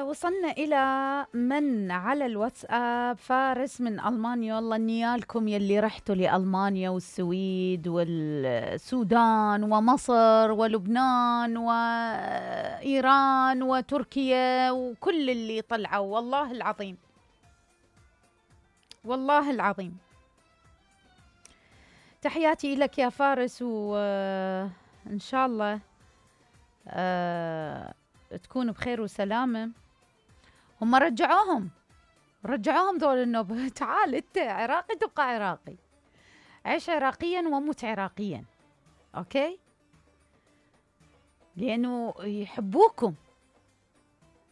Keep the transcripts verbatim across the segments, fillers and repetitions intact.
وصلنا إلى من على الواتساب. فارس من ألمانيا. والله نيالكم يلي رحتوا لألمانيا والسويد والسودان ومصر ولبنان وإيران وتركيا وكل اللي طلعوا، والله العظيم والله العظيم. تحياتي لك يا فارس، وإن شاء الله أه تكون بخير وسلامة. هم رجعوهم رجعوهم ذول النوبة. تعال انت عراقي تبقى عراقي، عيش عراقيا وموت عراقيا، اوكي؟ لانه يحبوكم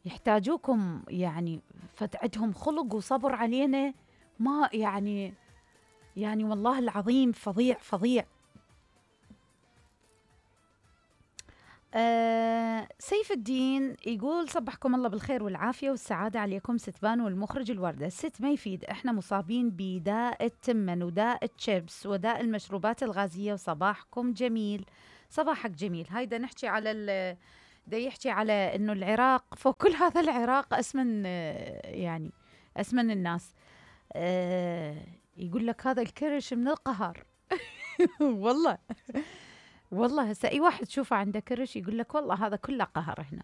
يحتاجوكم، يعني فتعدهم خلق وصبر علينا، ما يعني يعني والله العظيم فظيع فظيع. أه سيف الدين يقول صبحكم الله بالخير والعافية والسعادة عليكم ستبان والمخرج الوردة. الست ما يفيد، احنا مصابين بداء التمن وداء التشيبس وداء المشروبات الغازية، وصباحكم جميل. صباحك جميل. هيدا نحكي على ال دا يحكي على انه العراق فوق كل هذا العراق اسمن، يعني اسمن الناس. أه يقول لك هذا الكرش من القهر. والله والله هسه اي واحد تشوفه عنده كرش يقول لك والله هذا كله قهر هنا.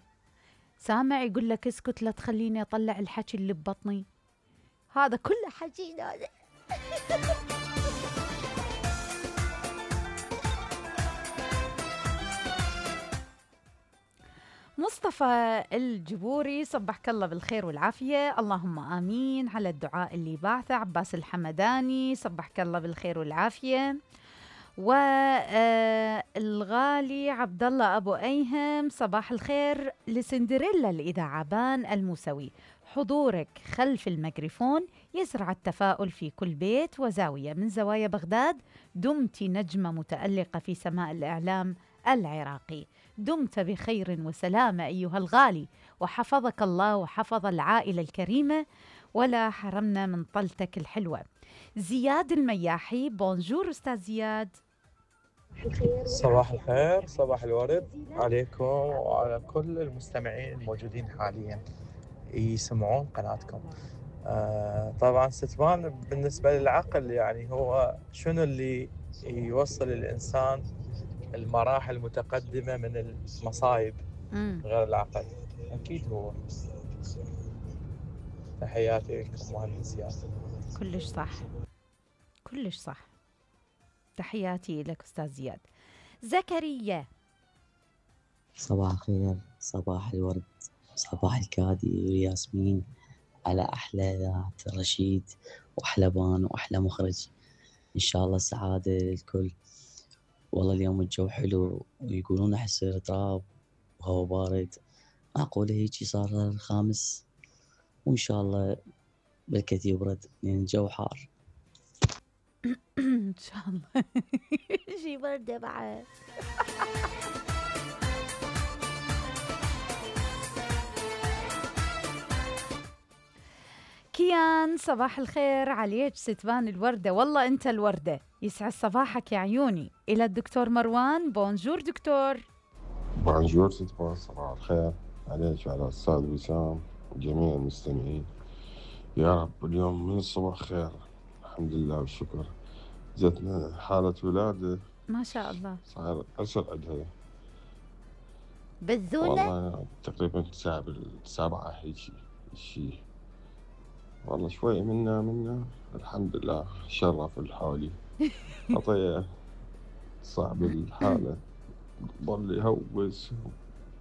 سامع يقول لك اسكت لا تخليني اطلع الحكي اللي ببطني، هذا كله حكي هذا. مصطفى الجبوري صبحك الله بالخير والعافية، اللهم آمين على الدعاء اللي بعثه. عباس الحمداني صبحك الله بالخير والعافية. والغالي عبد الله أبو أيهم صباح الخير لسندريلا الإذاعة بان الموسوي، حضورك خلف الميكروفون يزرع التفاؤل في كل بيت وزاوية من زوايا بغداد. دمت نجمة متألقة في سماء الإعلام العراقي، دمت بخير وسلامة أيها الغالي، وحفظك الله وحفظ العائلة الكريمة ولا حرمنا من طلتك الحلوة. زياد المياحي بونجور أستاذ زياد. صباح الخير، صباح الورد عليكم وعلى كل المستمعين الموجودين حاليا يسمعون قناتكم. آه طبعا ستبان بالنسبة للعقل، يعني هو شنو اللي يوصل الإنسان المراحل المتقدمة من المصايب غير العقل؟ أكيد هو. تحياتي لكم مهندس زياد. كلش صح كلش صح. تحياتي لك أستاذ زياد. زكريا صباح الخير، صباح الورد، صباح الكادي وياسمين على أحلى ذات رشيد وأحلى بان وأحلى مخرج. إن شاء الله السعادة للكل. والله اليوم الجو حلو ويقولون أحس رطاب وهو بارد، معقولة هيجي صار الخامس، وإن شاء الله بالكت يبرد لأن الجو حار. إن شاء الله شي بردة بعد. كيان صباح الخير عليك ستبان الوردة، والله أنت الوردة، يسعد صباحك يا عيوني. إلى الدكتور مروان. بونجور دكتور. بونجور ستبان، صباح الخير عليك وعلى الأستاذ وسام وجميع المستمعين. يا رب اليوم من الصبح خير، الحمد لله والشكر. جتنا حالة ولادة ما شاء الله، صار أسر عندها بذونة والله تقريبا الساعة بالسبعة هيجي شي، والله شوي منا منا الحمد لله شرف الحالي. عطيه صعب الحالة، ضل يهوس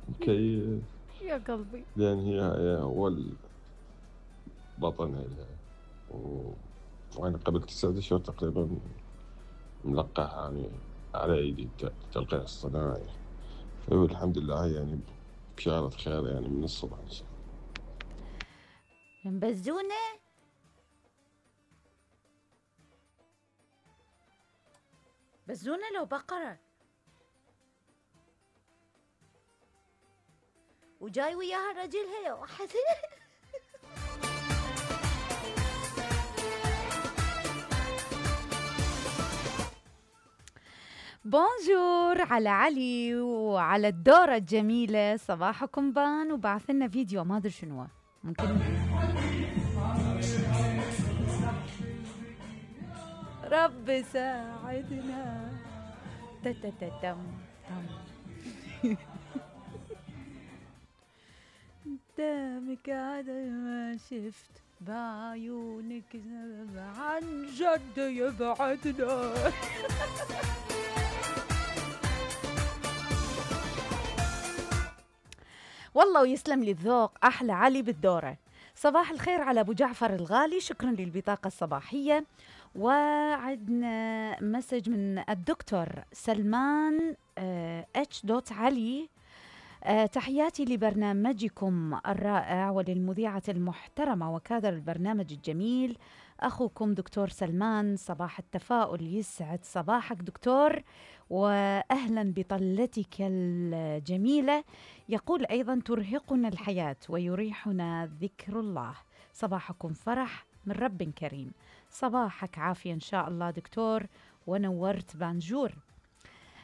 مكيف يا قلبي، لأن هي هي أول بطن لها، وأنا قبل تسعة أشهر تقريبا ملقح يعني على أيدي التلقيح الصناعي. فهو الحمد لله يعني بشارة خير يعني من الصبح إن شاء الله. بزونة بزونة لو بقرة وجاي وياها رجلها واحد. بونجور على علي وعلى الدورة الجميلة. صباحكم بان، وبعث لنا فيديو ما ادري شنو ممكن. رب ساعدنا. تتتتم تم. قدامك هذا ما شفت بعيونك عن جد يبعدنا. والله ويسلم لي الذوق. أحلى علي بالدورة. صباح الخير على أبو جعفر الغالي، شكرا للبطاقة الصباحية. وعدنا مسج من الدكتور سلمان اتش دوت علي. أه تحياتي لبرنامجكم الرائع وللمذيعة المحترمة وكادر البرنامج الجميل أخوكم دكتور سلمان. صباح التفاؤل، يسعد صباحك دكتور، وأهلا بطلتك الجميلة. يقول أيضا ترهقنا الحياة ويريحنا ذكر الله. صباحكم فرح من رب كريم. صباحك عافية إن شاء الله دكتور، ونورت بانجور.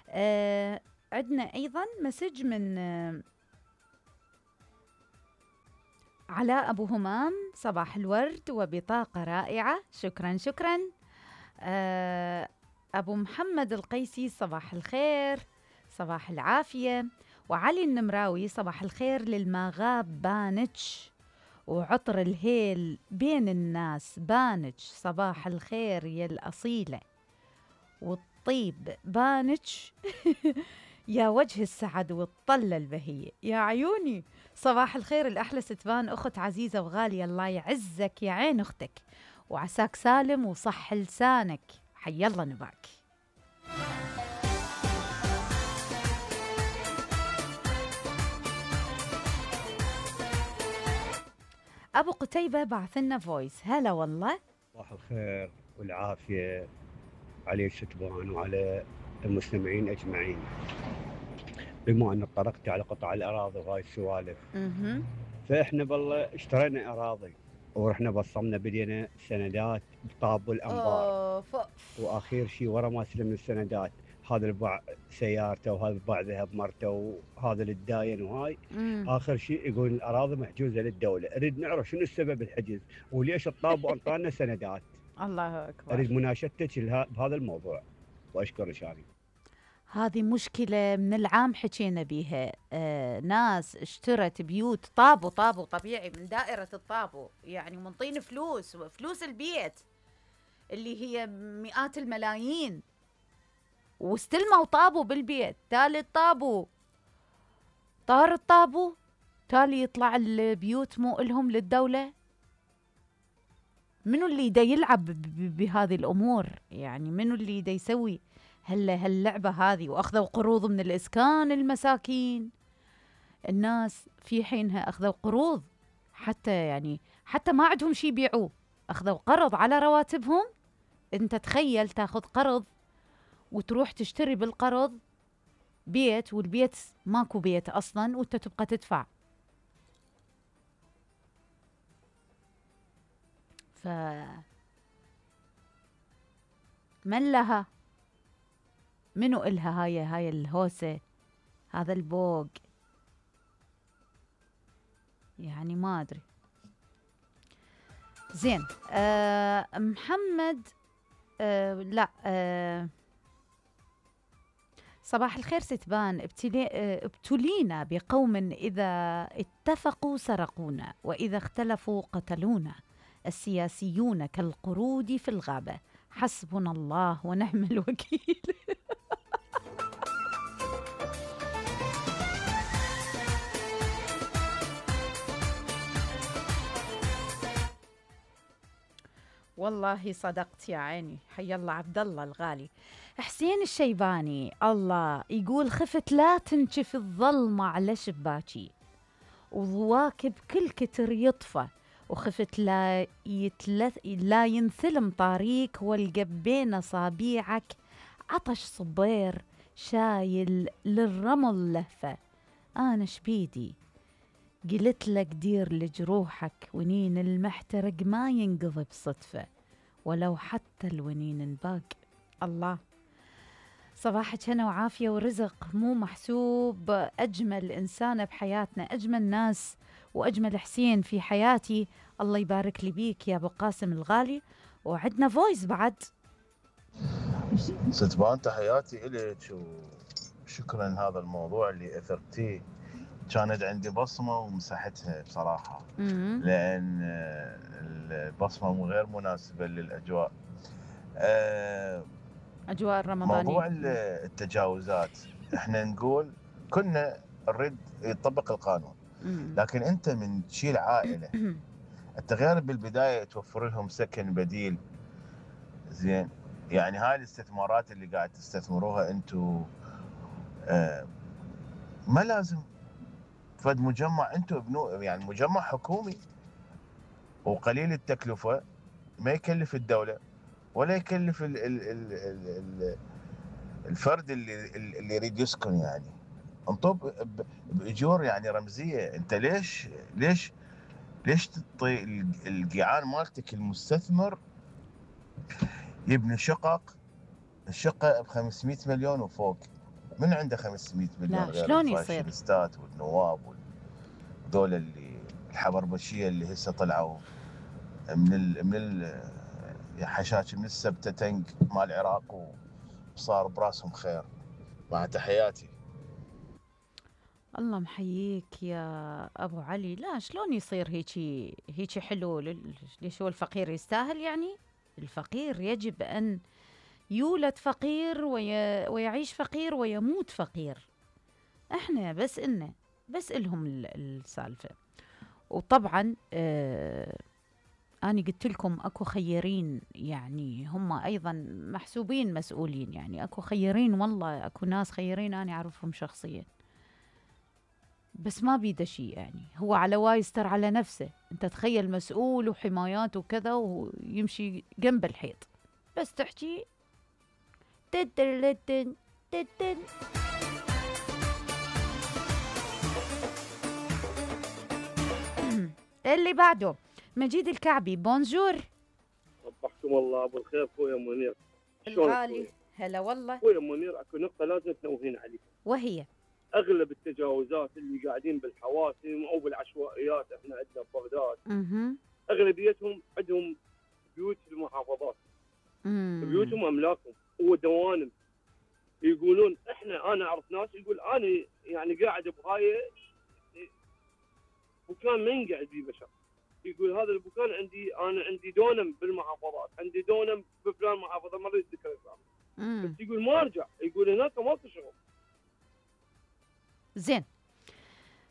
أه عندنا أيضا مسج من أه علاء أبو همام. صباح الورد وبطاقة رائعة، شكرا شكرا. أه أبو محمد القيسي صباح الخير، صباح العافية. وعلي النمراوي صباح الخير للمغاب بانتش وعطر الهيل بين الناس بانتش. صباح الخير يا الأصيلة والطيب بانتش. يا وجه السعد والطلة البهية يا عيوني. صباح الخير الأحلى ستبان، أخت عزيزة وغالية، الله يعزك يا عين أختك وعساك سالم وصح لسانك. حي الله نباك. أبو قتيبة بعثنا فويس. هلا والله. صباح الخير والعافية على الشتبان وعلى المستمعين أجمعين. بما أن طرقت على قطع الأراضي وهاي السوالف، فإحنا بالله اشترينا أراضي ورحنا بصمنا بدينا سندات بطاب الأنبار، وآخر شيء ورا ما استلمنا السندات هذا الباع سيارته وهذا الباع ذهب مرته وهذا الداين وهاي. مم. آخر شيء يقول الأراضي محجوزة للدولة. أريد نعرف شنو السبب الحجز وليش الطاب وأنطانا سندات. الله أكبر. أريد مناشدتك بهذا الموضوع وأشكر شاني. هذه مشكلة من العام حكينا بيها. آه ناس اشترت بيوت طابو طابو طبيعي من دائرة الطابو، يعني منطين فلوس وفلوس البيت اللي هي مئات الملايين، واستلموا طابو بالبيت. تالي الطابو طار الطابو، تالي يطلع البيوت مو إلهم للدولة. منو اللي دا يلعب بهذه الأمور؟ يعني منو اللي دا يسوي هلا هاللعبة هذه؟ وأخذوا قروض من الإسكان المساكين. الناس في حينها أخذوا قروض حتى يعني حتى ما عندهم شي يبيعوه، أخذوا قرض على رواتبهم. أنت تخيل تاخذ قرض وتروح تشتري بالقرض بيت، والبيت ماكو بيت أصلاً وأنت تبقى تدفع. ف من لها؟ منو إلها هاي هاي الهوسة، هذا البوق؟ يعني ما أدري. زين. آه محمد آه لا آه صباح الخير ستبان. ابتلي ابتلينا بقوم إذا اتفقوا سرقونا وإذا اختلفوا قتلونا. السياسيون كالقرود في الغابة، حسبنا الله ونعم الوكيل. والله صدقت يا عيني. حي الله عبد الله الغالي. حسين الشيباني الله يقول خفت لا تنشف الظلمة على شباكي وضواكب كل كتر يطفى، وخفت لا يتلث لا ينثلم طريق والقبين صابيعك عطش صبير شايل للرمل لهفة. أنا شبيدي قلت لك دير لجروحك، ونين المحترق ما ينقضي بصدفة ولو حتى الونين انباق. الله صباحك هنا وعافية ورزق، مو محسوب أجمل إنسانة بحياتنا، أجمل ناس وأجمل حسين في حياتي. الله يبارك لي بيك يا أبو قاسم الغالي. وعدنا فويس بعد. ستبان تحياتي إليك وشكرا هذا الموضوع اللي أثرتيه، كانت عندي بصمة ومسحتها بصراحة. مم. لأن البصمة غير مناسبة للأجواء. أه أجواء الرمضانية. موضوع التجاوزات احنا نقول كنا نريد يطبق القانون، مم. لكن انت من تشيل عائلة انت غير بالبداية توفر لهم سكن بديل، زين، يعني هاي الاستثمارات اللي قاعد تستثمروها انتو آه ما لازم فد مجمع انتو ابنو، يعني مجمع حكومي وقليل التكلفة، ما يكلف الدولة ولا يكلف ال ال ال ال ال الفرد اللي اللي يريد يسكن، يعني انطب باجور يعني رمزية. انت ليش ليش ليش تعطي القيعان مالتك المستثمر يبني شقق، الشقة ب خمسمية مليون وفوق؟ من عنده خمسمية مليون لا، غير شلون يصير؟ الفاشينيستات والنواب وذول اللي الحبربشية اللي هسه طلعوا من ال من ال حشاش من السبتة تنك مال العراق وصار براسهم خير. مع تحياتي. الله محييك يا أبو علي. لا، شلون يصير هيجي هيجي حلو؟ ليش هو الفقير يستاهل؟ يعني الفقير يجب أن يولد فقير وي... ويعيش فقير ويموت فقير. احنا بس إلنا بس إلهم السالفة. وطبعا آه أنا قلت لكم أكو خيرين، يعني هم أيضا محسوبين مسؤولين، يعني أكو خيرين، والله أكو ناس خيرين أنا أعرفهم شخصيا، بس ما بيده شيء. يعني هو على وايستر على نفسه. أنت تخيل مسؤول وحمايات وكذا ويمشي جنب الحيط بس تحكي تتن تتن. اللي بعده مجيد الكعبي. بونجور. صبحكم الله ابو الخير خويا منير. الغالي هلا والله. خويا منير، اكو نقطه لازم تنوهين عليها، وهي اغلب التجاوزات اللي قاعدين بالحواسم او بالعشوائيات، احنا عندنا ببغداد اها اغلبيتهم عندهم بيوت في المحافظات، مم. بيوتهم املاكهم ودوانم. يقولون احنا، انا اعرف ناس يقول انا يعني قاعد بهاي مكان ما ينقعد فيه بشر، يقول هذا المكان عندي، انا عندي دونم بالمحافظات، عندي دونم بفلان محافظه، ما اريد ذكر اسمه، بس يقول ما ارجع، يقول هناك ماكو شغل. زين،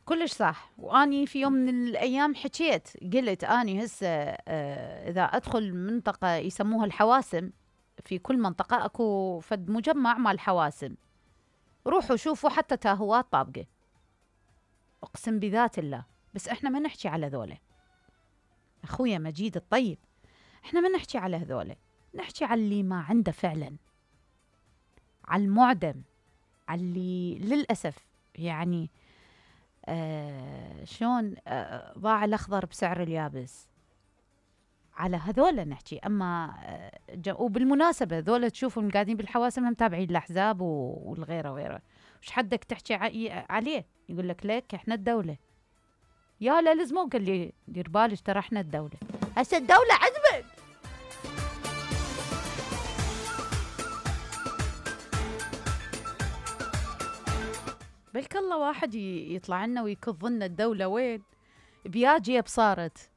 كلش صح. واني في يوم من الايام حكيت قلت اني هسه آه اذا ادخل منطقه يسموها الحواسم، في كل منطقه اكو فد مجمع مال حواسم، روحوا شوفوا حتى تاهوات طابقه، اقسم بذات الله. بس احنا ما نحكي على ذولا اخويا مجيد الطيب، احنا ما نحكي على هذولا، نحكي على اللي ما عنده فعلا، على المعدم، على اللي للاسف يعني آه شلون آه ضاع الاخضر بسعر اليابس. على هذولا نحكي. اما آه وبالمناسبه ذولا تشوفهم قاعدين بالحواسم هم تابعين الاحزاب والغيره وغيره. وش حدك تحكي عليه؟ يقول لك ليك احنا الدوله. يا لا لازمو قال لي دير بالك ترى احنا الدوله، هسه الدوله عجبك. بلك الله واحد يطلع لنا ويكظ لنا الدوله وين بياجي صارت.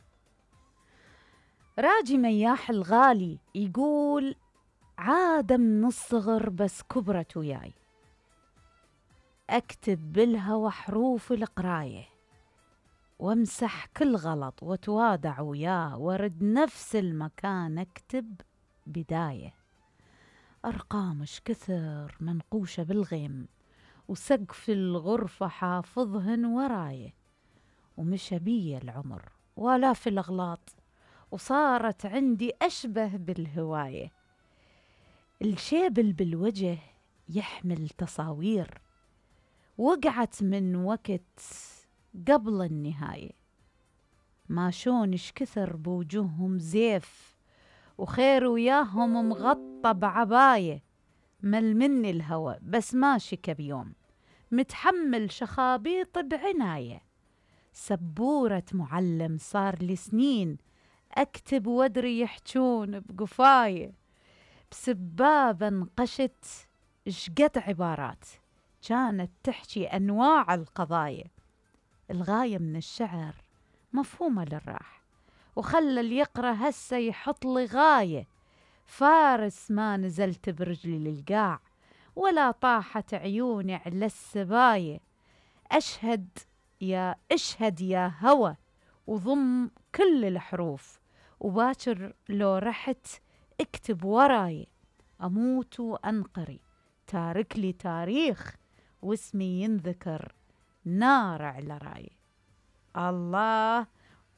راجي مياح الغالي يقول عادة من الصغر بس كبرت وياي، اكتب بالهوى حروف القرايه وامسح كل غلط وتوادع وياه، ورد نفس المكان اكتب بدايه، ارقامش كثر منقوشه بالغيم وسقف الغرفه حافظهن ورايه، ومشى بي العمر والاف الاغلاط وصارت عندي اشبه بالهوايه، الشيبل بالوجه يحمل تصاوير وقعت من وقت قبل النهاية، ما شونش كثر بوجوههم زيف وخير وياهم مغطى بعباية، مل مني الهوى بس ماشي كبيوم، متحمل شخابيط بعناية، سبورة معلم صار لي سنين أكتب وادري يحجون بقفاية، بسبابة انقشت شقد عبارات كانت تحكي أنواع القضايا، الغاية من الشعر مفهومة للراح، وخلى اللي يقرأ هسه يحط لي غاية، فارس ما نزلت برجلي للقاع ولا طاحت عيوني على السباية، أشهد يا اشهد يا هوى وضم كل الحروف، وباكر لو رحت اكتب وراي، أموت وأنقري تارك لي تاريخ واسمي ينذكر نار على راي. الله،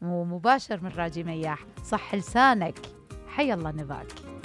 ومباشر من راجي مياح، صح لسانك، حي الله نباك.